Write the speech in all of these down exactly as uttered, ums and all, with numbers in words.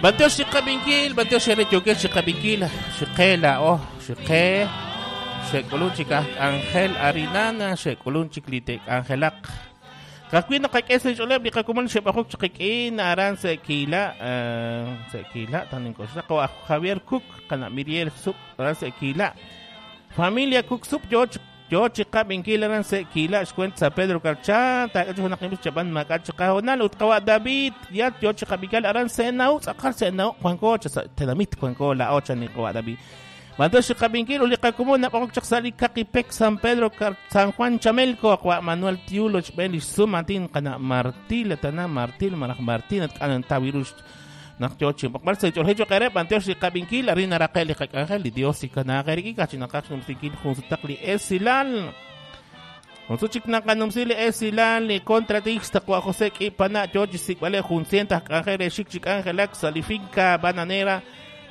Banteo xiqabinkil, banteo xereyoke xiqabinkil, xiqela oh, xiqe, xekulun chik Ángel Arinana, xekulun chik litek Angelak. Kakwin nakak'es xoleb li qakuman xeb'ajok chiqik'in aran sekila, sekila tanin koxla ko Javier Cook qana Miriel Sup aran sekila. Familia Cook Sup yo yo chiqabinkil aran sekila xcuent San Pedro Carchán, ta kachu naqim chaban makat chiqahonal utqawa David ya yo chiqabinkil aran senau tz'aqal senau Juanco tenamit Juanco la ocha ni qawa David. Mando chiqabinkil uliqakumun nab'aqok chaqsali Kakipec San Pedro Car San Juan Chamelco aqwa Manuel Tiulo chb'en sumatin qana Martil tana Martil maraj Martín atqanan tawirush naq yo chimpaqbal se ch'oljecho qereb anteo xiqabinkil arina raqel liqak'anjel li Dios ikanaqeriki kachinaqaj numsinkil junsutaq li esilal Unsuchik naqanumsi li esilal li contratista kwa José K'ipana yo chisikb'ale junsientas k'anjel xik chik'anjelak salifinca bananera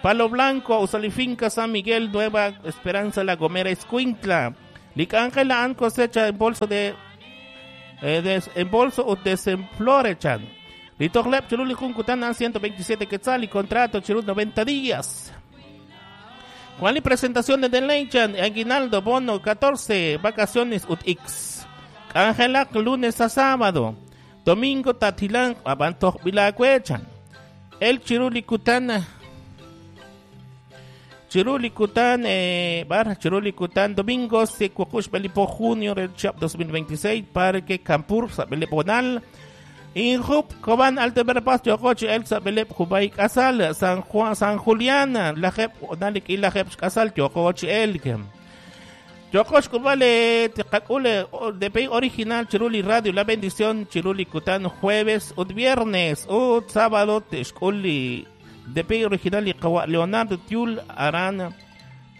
Palo Blanco usalifinca San Miguel Nueva Esperanza La Gomera Escuintla Licángela an cosecha en bolso de, eh, des, en bolso o desenflorechan Litoglep chululi juncutan an ciento veintisiete quetzal y contrato chulul noventa días. Juan y presentación de Delechan, Aguinaldo, bono catorce, vacaciones ut X. Ángela lunes a sábado. Domingo Tatilán, Abanto Vilacuechan. El Chiruli Cutana. Chiruli Cután, eh, barra Chiruli Cután, domingo, Secuacush, Belipo, junio del Chap dos mil veintiséis, Parque Campur, Sabele Bonal. Injup, Coban, Alto Verapaz, Yocoche, Elsa, Belep, Jubay, Casal, San Juan, San Julián, Lajep, Onalik, y Lajep, Casal, Yocoche, Elkem. Yocoche, Cubale, Tecacule, D P I original, Chiruli Radio, La Bendición, Chiruli Cután, jueves, ut viernes, ut sábado, Texculi, D P I original, y Leonardo Tiul, Arana,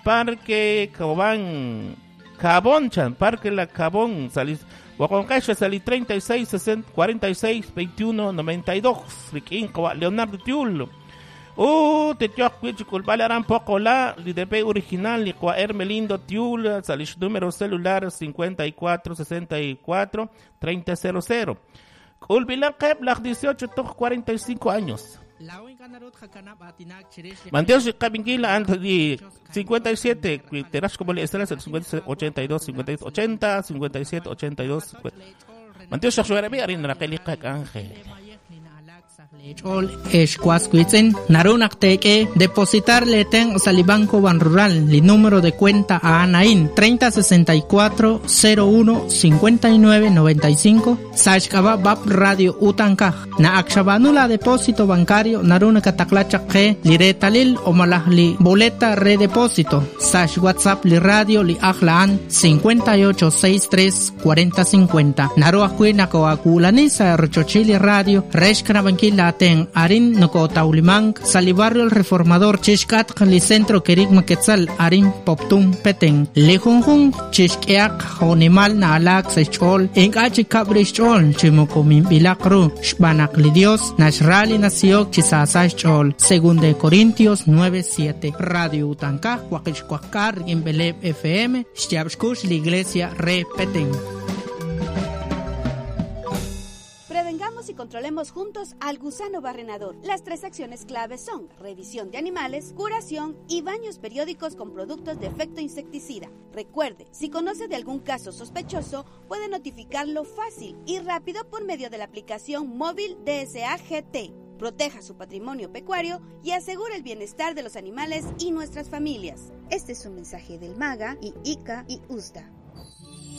Parque Cobán, Cabonchan, Parque La Cabón, Salis. Wakoncacha salí treinta y seis, sesenta, cuarenta y seis, veintiuno, noventa y dos. Riquín, Leonardo Tiul. Uh, te culpale poco la D P original, Licua Hermelindo Tiul, salís número celular cincuenta y cuatro, sesenta y cuatro, treinta, cero cero. Culpilán Keplag, dieciocho, cuarenta y cinco años. Manteos Cabinguila Anthony cincuenta y siete, Terás como le estás el cincuenta ochenta y dos, cincuenta y ochenta, cincuenta y siete, ochenta y dos. Manteos Shaxuarabi Arin Raquel Ángel. Chol Escuascuitzen, Narunak Teke, depositar leten Salibanco Ban Rural, li número de cuenta a Anaín, treinta sesenta y cuatro cero uno cincuenta y nueve noventa y cinco, Sashkaba Bab Radio Utankaj, na Akshabanula depósito bancario, Naruna Kataklacha Ke, Liretalil o Malahli, boleta redepósito, Sash WhatsApp li radio li Ajlaan, cincuenta y ocho sesenta y tres cuarenta cincuenta, Naruakuina Coaculanisa, Rochochili Radio, Reshkanabanquila Ten Arin Nocotaulimang, Salibarrio El Reformador, Chishkat, li Centro Kerigma Quetzal, Arin Poptum Peten, Lejunjun, Chishkeak, Jonimal Naalak, Sechol, Engachi Cabrichol, Chimocomin Bilacru, Shbanak li Dios, Nashrali Naciok, Chisasachol, Según de Corintios nueve siete, Radio Utanka, Huaquishcuacar, Embeleb F M, Xtiabxcush, la Iglesia Re Peten. Prevengamos y controlemos juntos al gusano barrenador. Las tres acciones claves son revisión de animales, curación y baños periódicos con productos de efecto insecticida. Recuerde, si conoce de algún caso sospechoso, puede notificarlo fácil y rápido por medio de la aplicación móvil D S A G T. Proteja su patrimonio pecuario y asegure el bienestar de los animales y nuestras familias. Este es un mensaje del MAGA y I C A y U S D A.